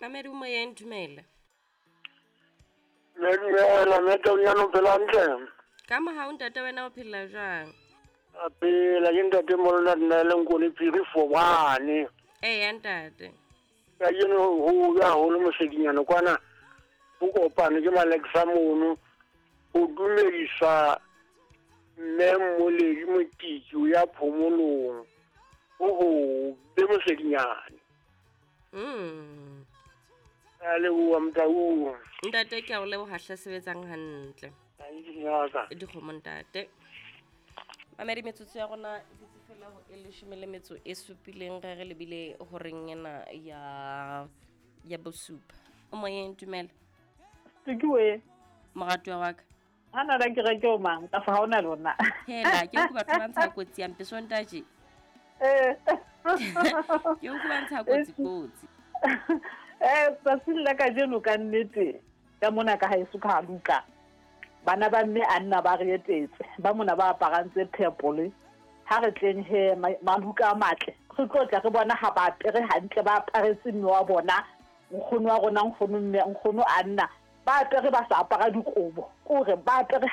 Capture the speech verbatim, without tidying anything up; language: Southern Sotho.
Mamedi o moyeng, dumela. Dumela mme Taunyana, o phela hantle? Ka mohau ntate, wena o phela jwang? A phela ke ntate Molona nna le Nkone Phiri for one. Eya ntate. Kajeno ho hobe haholo mosedinyana kwana ho kopane ke Malexa mono ho dumedisa mme Mmoledi Motiki o ya phomolong ho hobe mosedinyane. Mm. A leboha Motau. Ntate ke a o leboha hle, sebetsang hantle. Ngaka. Dikgomo ntate. Mamedi, metsotso ya rona e dutse fela ho e leshome le metso e supileng re re lebile horeng ena ya ya bosupa. O moyeng, dumela. Tukiwe. Moratuwa wa ka. Hana la ke re ke o mang ka fa ha ona lona. Hela ke utlwa batho ba ntsha kotsi ya mpe sontaje. Eh. Ke utlwa ba ntsha kotsi kotsi. Eh, tsatsing la kajeno ka nnete ka mona ka haeso ka luka. Bana ba mme a nna ba re etetse, ba mona ba aparang tse purple. Ha re tleng he maluka a matle. Re tlo tla re bona ha ba apere hantle, ba aparetse mme wa bona, nkgono wa rona, nkgono mme, nkgono a nna. Ba apere ba sa apara dikobo, kore ba apere.